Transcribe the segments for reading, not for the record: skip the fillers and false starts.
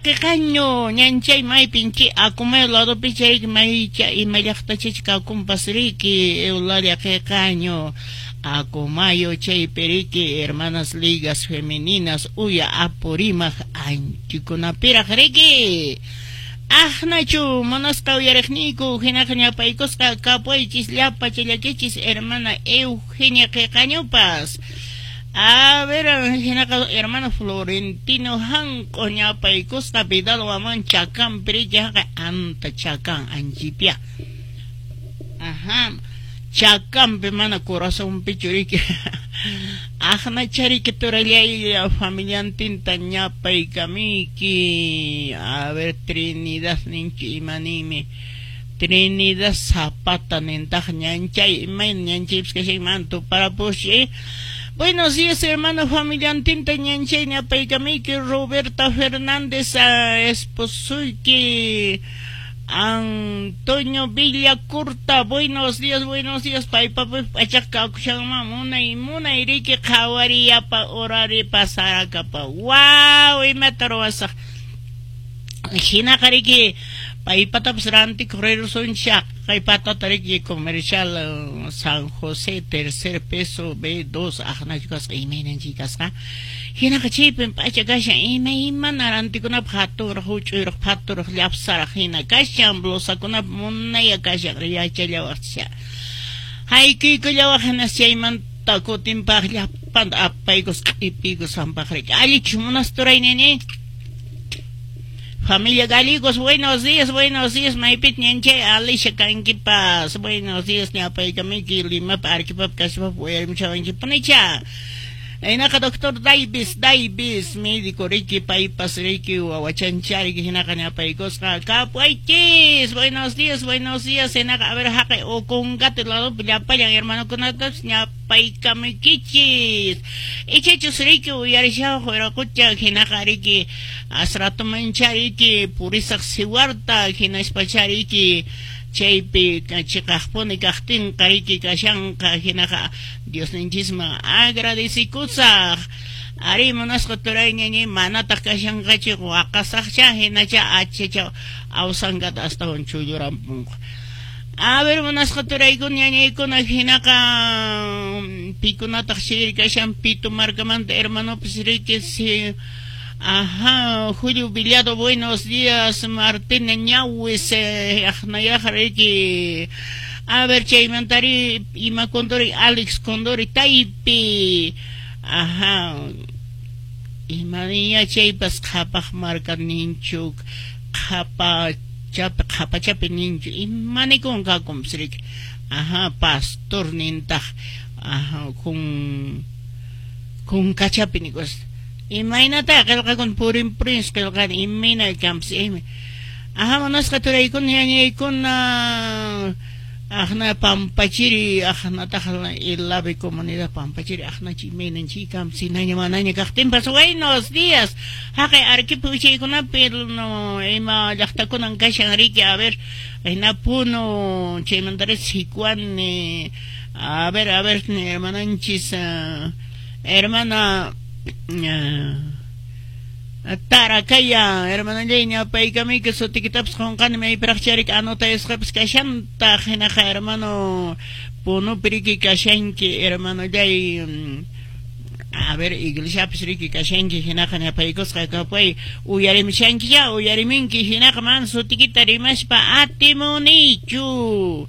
Qiqaño ñanchay maypin chi Acomayo ladopi chay maycha ima llaqtachacha kakunpas riki Eulalia Qiqaño Acomayo chaypi riki hermanas ligas femeninas uya Apurímac anchikunapiraq riki. Aqnachu munasqa uyariqniyku hinaqa ñapaykusqa kapuaychis llapa challakichis hermana Eugenia Qiqañopas. A ver, hinaqa hermano Florentino Hanq'o ñapaykusqa Vidal Waman Chakan riki haqay anta Chakan anchipia. Ajá. Chakanpi mana corazonpichu riki. Aqnacha riki turallay familiantinta ñapaykamiyki. A ver, Trinidad ninchu imaniymi. Trinidad Zapata nintaq ñanchay imayna ñanchaypis kashan tuparapushi. Buenos días, hermano familiantinta ñanchay ñapaykamiyki Roberta Fernández esposuyki Antonio Villacurta, buenos días, paypa p'achaq kakushanman munay munay riki qhawariyapa urari pasarakapa. Wow, imata ruwasaq. Hinaqa riki paypatapas rantikuq rirsunchik kay patata riki comercial San José tercer peso B2 aqnachu kasqa imaynanchik kasqa. Hinaqa chaypin p'acha kashan imaymana rantikunapaq hatunraq huch'uyraq phaturaq llapsaraq hina kashan blusakunap munaya kashan yachallawaqcha. Haykuykullawaq hinas chaymanta kutinpaq llapanta apaykus q'ipiykus hampaq riki. Allichu munas turay nini? Familia Gallegos, buenos días, maypit ñanchay Alicia kankipas, buenos días, ñapaykamiki Limapa, Arequipap, kasipap, uyarimuchawanchikpunicha. Hinaqa doctor Davis, Davis, médico riki, paypas riki, wawachancha riki, hinaqa ñapaykusqa kapuaychis, buenos días, hinaqa a ver haqay Ocongate ladopi llapallan hermanokunatapas ñapaykamuykichis. Ichachus riki uyarishawaq wiraqucha hinaqa riki asratumancha riki purisaq siwarta hinaspacha riki chaypi chiqaqpuni kaqtinqa riki kashanqa hinaqa Diosninchisman agradecikusaq. Ari munasqa turay ñañay manataq kashanqachu waqasaqcha hinacha achacha awsankata astawan chullurampunqa. A ver munasqa turaykuna ñañaykuna hinaqa pikunataq chayri kashan Pito markamanta hermanopas riki si. Ajá, Julio Villado, buenos días, Martina Ñawis, aqnayaqa riki. A ver, chaymantari ima Condori, Alex Condori, Taypi. Ajá. Imaniya chaypas qhapaq marka ninchu, qhapachapi, qhapachapi ninchu, imanikun kakunpas riki. Ajá, pastor nintaq, ajá, kun kunkachapi nikus. Imaynata qillqakun purin purin qillqani imayna kampas ima. Ajá, munasqa turaykuna ñañaykuna aqna Pampachiri aqnataq Ilave comunidad Pampachiri aqnachi imaynan chikampas hinaña manaña kaqtinpas buenos días. Haqay Arequipa wichaykunapi no ima llaqtakunan kashan riki a ver hina Puno chaymantari Sicuani a ver hermananchis hermana Tarakaya, hermanallay ñapaykamiyki sutikitapas qunqani maypiraqcha riki anotayasqapas kashantaq hinaqa hermano Punupi riki kashanki hermanollay a ver iglesiapis riki kashanki hinaqa ñapaykusqa kapay uyarimushanki ya uyariminki hinaqa man sutikita rimaspa atimunichu.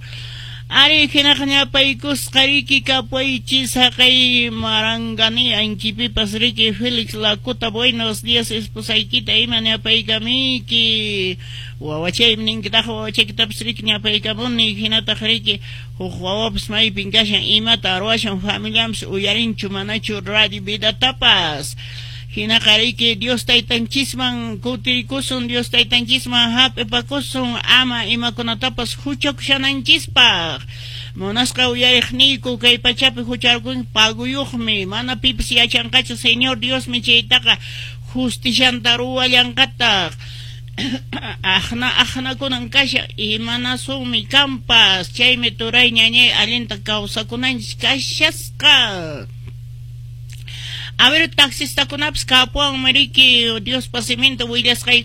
Ari hinaqa ñapaykusqa riki kapaychis haqay Marangani anchipipas riki Félix Lacuta, buenos días esposaykita ima ñapaykamiyki wawachaymi ninkitaq wawachaykitapas riki ñapaykamuni hinataq riki huk wawapas maypin kashan imata ruwashan familianpas uyarinchu manachu radio vidatapas. Hinaqa riki Dios taytanchisman kutirikusun Dios taytanchisman hap'ipakusun ama imakunatapas huchakushananchispaq. Munasqa uyariqniyku kay pachapi hucharkun paguyuqmi mana pipas yachanqachu Señor Diosmi chaytaqa justicianta ruwallanqataq. Aqna aqnakunan kashan imanasunmi kampas chaymi turay ñañay allinta kawsakunanchis kashasqa. A ver, taxistakunapas kapuwanmi riki Diospa siminta willasqayku.